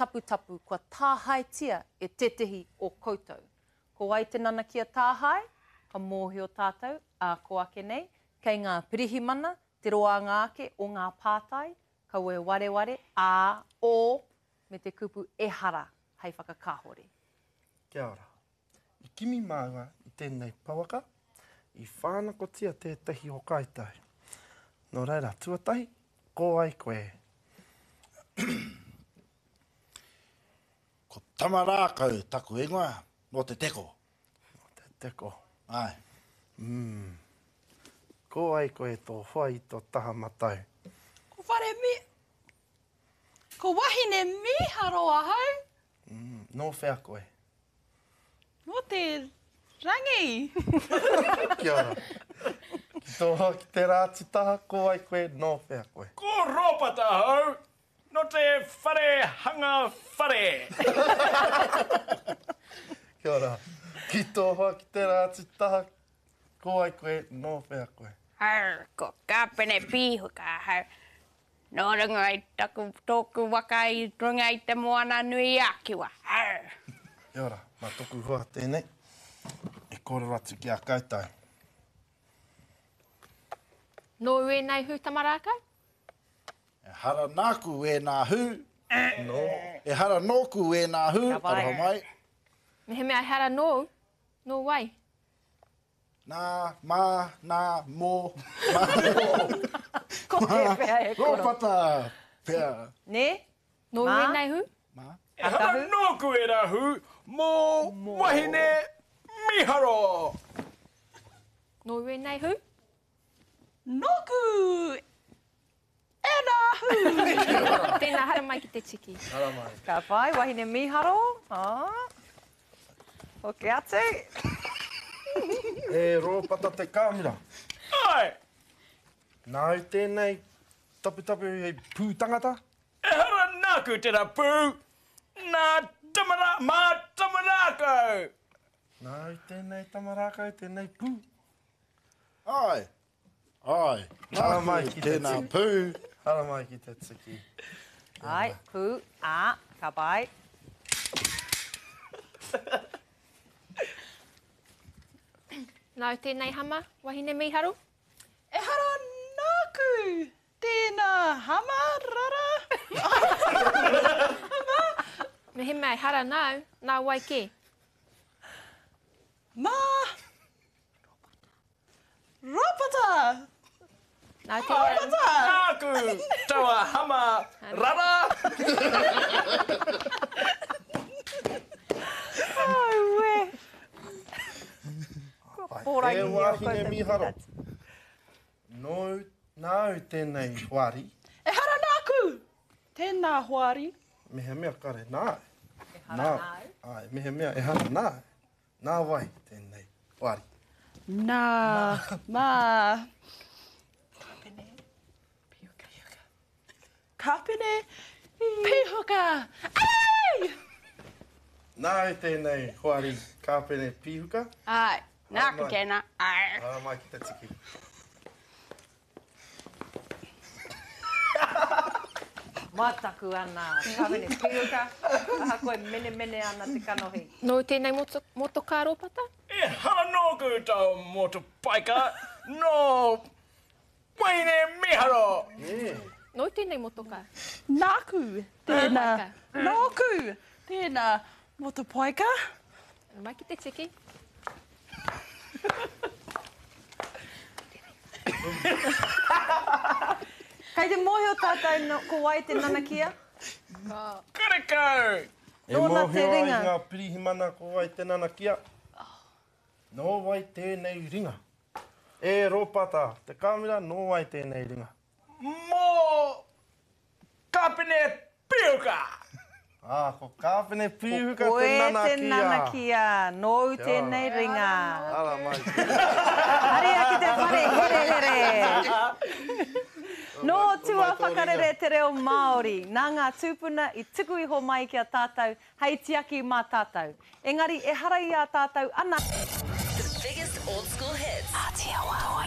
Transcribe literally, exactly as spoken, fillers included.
taputapu kua tāhaetia e tētehi o koutou. Ko wai te nanakia tāhae? Ka mōhio tātou, ā kō ake nei, kei ngā pirihimana te roanga ake o ngā pātai, kaua e wareware, ā, ō, me te kupu ehara hei whakakāhore. Kia ora. I kimi māua i tēnei pouaka, i whānakotia tētahi o kaitai. Nō reira, tuatahi, ko wai koe? Ko Tamarākau taku ingoa, nō Te Teko. Nō Te Teko. Āe. Mm. Ko wai koe tō hoa i tō taha matau? Ko Whare Mi... Ko Wahine Mīharo ahau. Mm. Nō whea koe? Nō te rangi. Kia ora. Ki tō hoa ki tērā atu taha, ko wai koe, nō whea koe? Ko Rōpata ahau, nō te whare hanga whare. Kia ora. Ki tō hoa ki tērā atu taha, ko wai koe, nō whea koe? Arr, ko Kāpene Pīhuka ahau. Nō runga i taku, tōku waka i runga i te moana nui a Kiwa. Arr! Kia ora, mā toku hoa tēnei e kōrero atu ki a koutou. Nōu ēnei hū tamarākau? Ehara nāku ēnā hū. Nō. Ehara nōku ēnā hū, Ka pai. aroha mai. Mehemea ehara nōu, nō wai? Nā, mā, nā, mō, mā, mō. Ko tēwhea e koro? Rōpata pea. Nē? Nōu Mā? ēnei hū? Mā. Ehara Akahu? nōku ērā hū, mō wahine mīharo! Nōu ēnei hū? Nōku ērā hū! Tēnā, haramai ki te tiki. Haramai. Ka pai, wahine mīharo. Ah. Hoki atu. E Rōpata te kāmera. Āe! Nāu tēnei taputapu hei pū tangata? Ehara nāku tērā pū, nā Tamara, mā Tamarākau! Nāu tēnei Tamarākau, tēnei pū? Āe, āe, Haramai nāku ki te tēnā tiki. pū. Haramai ki te tiki. Āe, pū, ā, ka pai. Nāu tēnei hama, wahine mīharo? Ehara nāku tēnā hama, rara. Mehemea ehara nāu, nā wai kē? Mā Rōpata. Nāu tēnei. Rōpata! Nāku taua hama, rara! Aue! Kua E pōrangi o wāhine koutou mīharo. peanuts. Nōu, nāu tēnei hoari? Ehara nāku tēnā hoari. Mehemea kare nāu. Ehara Nā, nāu. Āe, mehemea ehara nāu. Nā wai tēnei hoari? Nā, mā. Kāpene Pīhuka. Kāpene Pīhuka. Ai! Nāu tēnei hoari Kāpene Pīhuka? Āe, nāku Haramai. tēnā. Arr. Haramai ki te tiki. Mataku ana, Kāpene Pīhuka, ahakoa e menemene ana te kanohi. Nōu tēnei moto, motokā Rōpata? Ehara nōku tau motopaika, nō Wahine Mīharo! Nē. Nōu tēnei motokā? Nāku tēnā. Motopaika. Nōku tēnā motopaika. Haramai ki te tiki. Kei te mōhio tātou no, ko wai te nanakia? Karekau! E Nōna te mōhio ai ringa. ngā pirihimana ko wai te nanakia? Nō wai tēnei ringa? E Rōpata, te kāmera, nō wai tēnei ringa? Mō Kāpene Pīhuka! Ā, ko Kāpene Pīhuka Ko te koe te nanakia. nanakia, nōu Kia ora. tēnei ringa. Haramai. Haria ki te whare herehere. Nō tua whakarere te reo Māori, nā ngā tūpuna i tuku iho mai ki a tātou hei tiaki mā tātou. Engari ehara i a tātou ana. The biggest old school hits. Aotearoa.